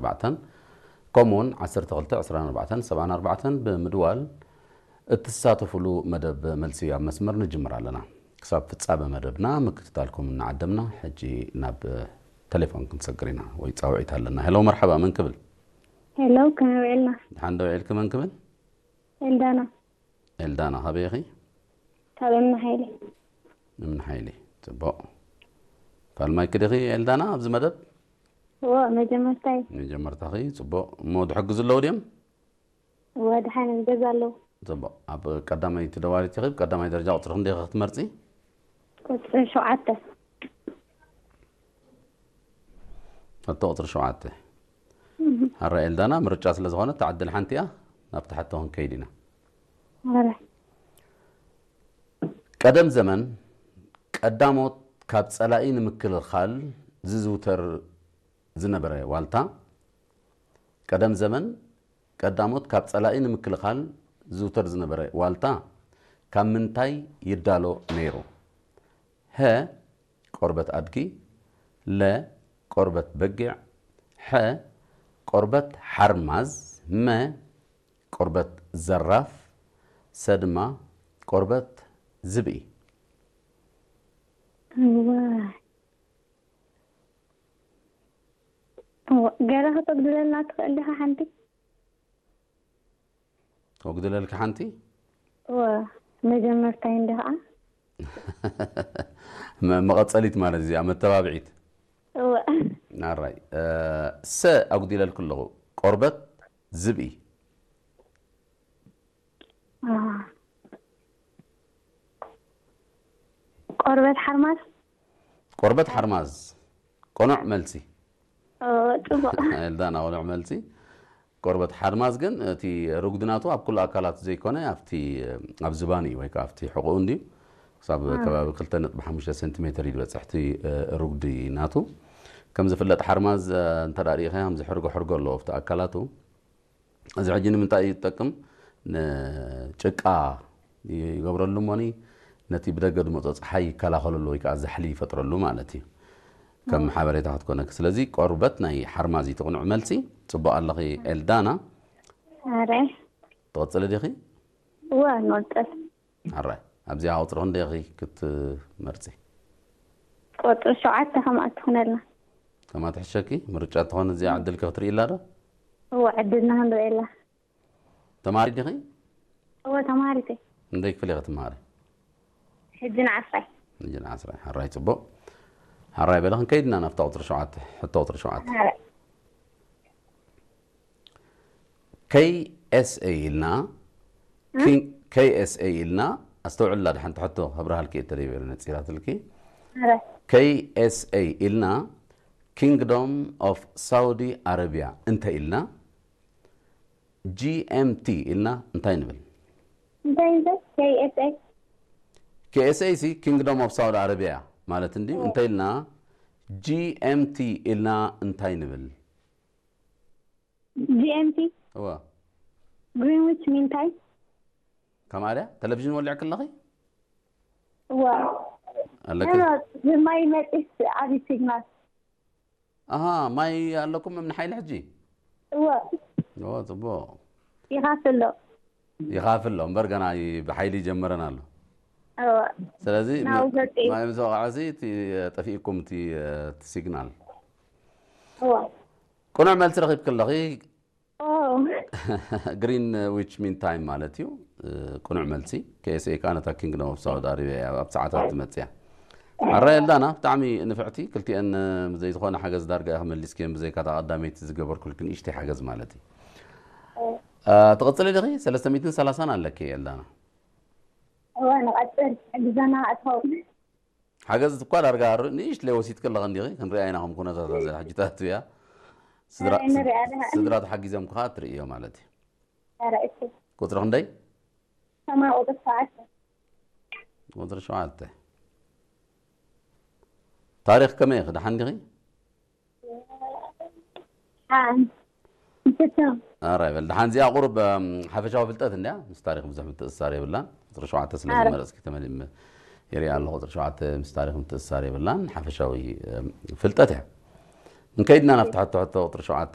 ኣርባዕተን ከምኡውን ዓሰርተ ክልተ ዕስራን ኣርባዕተን ሰብዓን ኣርባዕተን ብምድዋል እትሳተፉሉ መደብ መልሲ ኣብ መስመር ንጅምር ኣለና። ክሳብ ፍጻመ መደብና ምክትታልኩም እናዓደምና፣ ሕጂ ናብ ተሌፎን ክንሰግር ኢና ወይ ጻውዒት ኣለና። ሄሎ፣ መርሓባ፣ መን ክብል? ሄሎ፣ ከመይ ውዒልና? ድሓን ዶ ውዒልኪ? መን ክብል? ኤልዳና። ኤልዳና፣ ካበይ ኢኺ? ካብ እምኒ ሓይሊ። እምኒ ሓይሊ። ጽቡቕ። ፋልማይኪ ዲኺ ኤልዳና ኣብዚ መደብ? እዎ፣ መጀመርታይ። መጀመርታኺ፣ ጽቡቕ። እሞ ዝሕግዙ ኣለዉ ድዮም? እዎ፣ ድሓን ገዛ ኣለዉ። ጽቡቕ። ኣብ ቀዳመይቲ ደዋሊት ኢኺ፣ ቀዳማይ ደረጃ ቁጽሪ ክንደይ ኢኺ ክትመርጺ? ቁጽሪ ሸውዓተ። ሕቶ ቁጽሪ ሸውዓተ። እህ። ሕራይ ኤልዳና፣ ምርጫ ስለ ዝኾነ፣ እታ ዕድል ሓንቲ እያ፣ ናብቲ ሕቶ ክንከይድ ኢና። ሕራይ። ቀደም ዘመን፣ ቀዳሞት ካብ ጸላኢ ንምክልኻል ዝዝውተር ዝነበረ ዋልታ። ቀደም ዘመን፣ ቀዳሞት ካብ ጸላኢ ንምክልኻል ዝዝውተር ዝነበረ ዋልታ ካብ ምንታይ ይዳሎ ነይሩ? ሀ፣ ቆርበት ኣድጊ፣ ለ፣ ቆርበት በጊዕ፣ ሐ፣ ቆርበት ሓርማዝ፣ መ፣ ቆርበት ዘራፍ፣ ሰ ድማ ቆርበት ዝብኢ። እዋ። እዋ፣ ገለ ከተጉድለልና ትኽእል ዲኻ ሓንቲ? ከጉድለልኪ ሓንቲ? እወ፣ መጀመርታይ እንዲ ኸዓ። መ-፣ መቐጸሊት ማለት እዚኣ፣ መተባብዒት። እወ። ኣራይ፣ እ፣ ሰ ኣጉዲለልኪ ኣለኹ። ቆርበት ዝብኢ። አ። ቆርበት ሓርማዝ? ቆርበት ሓርማዝ። ቅኑዕ መልሲ። ኦ፣ ጽቡቕ። ኤልዳና፣ ቅኑዕ መልሲ። ቆርበት ሓርማዝ ግን እቲ ርጉዲ ናቱ ኣብ ኩሉ ኣካላቱ ዘይኮነ ኣብቲ፣ ኣብ ዝባኑ እዩ ወይ ከዓ ኣብቲ ሕቖኡ እንድዩ። ክሳብ አ። ከባቢ ክልተ ነጥቢ ሓሙሽተ ሴንቲሜትር እዩ ዝበጽሕ እቲ፣ እ፣ ርጉዲ ናቱ። ከም ዝፍለጥ ሓርማዝ፣ እ፣ እንተ ደኣ ርኢኻዮ ከምዚ ሕርጎ ሕርጎ ኣለዎ ኣብቲ ኣካላቱ። እዚ ሕጂ ንምንታይ እዩ ዝጠቅም? ንጭቃ ይገብረሉ እሞኒ ነቲ ብደገ ዝመጾ ጸሓይ ይከላኸለሉ ወይ ከዓ ዛሕሊ ይፈጥረሉ ማለት እዩ። ከም ኦ። ሓበሬታ ክትኮነኪ። ስለዚ ቆርበት ናይ ሓርማዝ እዩ እቲ ቅኑዕ መልሲ። ጽቡቕ ኣለኺ ኤልዳና። ኣረ። ትቕጽሊ ዲኺ? እወ፣ ንቕጽል። ኣራይ፣ ኣብዚኣ ቁጽሪ ክንደይ ኢኺ ክትመርጺ? ቁጽሪ ሸውዓተ ከምኣ ትኹነልና። ከምኣ ትሕሸኪ? ምርጫ ትኾን እዚኣ ዕድልኪ ክትርእይላ ዶ? እወ፣ ዕድልና ክንርእየላ። ተማሪ ዲኺ? እወ፣ ተማሪት እየ። ክንደይ ክፍሊ ኢኺ ትመሃሪ? ሕጂ ንዓስራይ። ሕጂ ንዓስራይ። ኣራይ፣ ጽቡቕ። ኣራይ በለ፣ ክንከይድ ኢና ናብታ ቁጽሪ ሸውዓተ፣ ሕቶ ቁጽሪ ሸውዓተ። ኣራይ። ኬ ኤስ ኤ ኢልና፣ እ? ኪን-፣ ኬ ኤስ ኤ ኢልና፣ ኣስተውዕላ፣ ድሓንቲ ሕቶ ከብርሃልኪ እየ ተደይበ ነጺራትልኪ። ኣረ። ኬ ኤስ ኤ ኢልና፣ ኪንግዶም ኦፍ ሳውዲ ኣረቢያ እንተ ኢልና፣ ጂ ኤም ቲ ኢልና እንታይ ንብል? እንታይ ንብል? ኬ ኤስ ኤ? ኬ ኤስ ኤ ሲ ኪንግዶም ኦፍ ሳውዲ ኣረቢያ ማለት እንድዩ። ኦ። እንተ ኢልና፣ ጂ ኤም ቲ ኢልና እንታይ ንብል? ጂ ኤም ቲ? እወ። ግሪንዊች ሚን ታይም? ከምኣ ድያ? ቴሌቪዥን ወሊዕኪ ኣለኺ? እወ። ኣለኪ? ኖ፣ ኖ፣ ማይ መጺስ ዓቢ ሲግናል። ኣሃ፣ ማይ ኣለኩም እምኒ ሓይሊ ሕጂ? እወ። እወ፣ ጽቡቕ። ይኻፍል ኣሎ። ይኻፍል ኣሎ፣ እምበር ገና ይ-፣ ብሓይሊ ይጀመረን ኣሎ። እወ። ስለዚ ናብኡ መ-፣ ዘጥዩ። ማይ ምስ ወቕዐ ሲ እቲ፣ ጠፊእኩም እቲ፣ እቲ ሲግናል። እወ። ቅኑዕ መልሲ ረኺብኪ ኣለኺ። ኦ። ግሪን ዊች ሚን ታይም ማለት እዩ። እ፣ ቅኑዕ መልሲ። ኬ ኤስ ኤ ከኣ ነታ ኪንግደም ኦፍ ሳውዲ ኣረቢያ እያ ኣብ ሰዓታት ትመጽእ እያ። ኣረ ኤልዳና፣ ብጣዕሚ ንፍዕቲ። ክልቲኤን፣ እ፣ ብዘይ ዝኾነ ሓገዝ ዳርጋ ኢኺ መሊስክየን፣ ብዘይካ እታ ቀዳመይቲ ዝገበርኩልኪ ንእሽተይ ሓገዝ ማለት እዩ። እ፣ ትቕጽሊ ዲኺ? ሰለስተ ሚእትን ሰላሳን ኣለኪ ኤልዳና። እወ፣ ንቐጽል። ሕግዘና እትኸውን። ሓገዝ እኳ ዳርጋ ር-፣ ንእሽትለይ ወሲድኪ ኣለኺ እንዲኺ፣ ክንሪኣ ኢና ከም ኩነታት እዛ ሕጂ ታቱ እያ። ስድራ፣ ኣይ፣ ንሪኣ ኣለና። ስድራ ተሓጊዞም ከኣ ትርእዮ ማለት እዩ። ኧረ፣ እሺ። ቁጽሪ ክንደይ? ሰማይ ቁጽሪ ሸውዓተ። ቁጽሪ ሸውዓተ። ታሪኽ ከመይ ኢኺ? ደሓን ዲኺ? ሓን። እንስሳ። ኣራይ በል፣ ደሓን እዚኣ ቁሩብ፣ እም፣ ሓፈሻዊ ፍልጠት እንድያ፣ ምስ ታሪኽ ብዙሕ ምትእስሳር የብላን። ቁጽሪ ሸውዓተ ስለ ኣረ። ዝመረጽኪ ተመሊም የሪኣ ኣለኹ። ቁጽሪ ሸውዓተ ምስ ታሪኽ ምትእስሳር የብላን፣ ሓፈሻዊ፣ እም፣ ፍልጠት እያ። እንከይድና ናብቲ ሕቶ፣ ሕቶ ቁጽሪ ሸውዓተ፣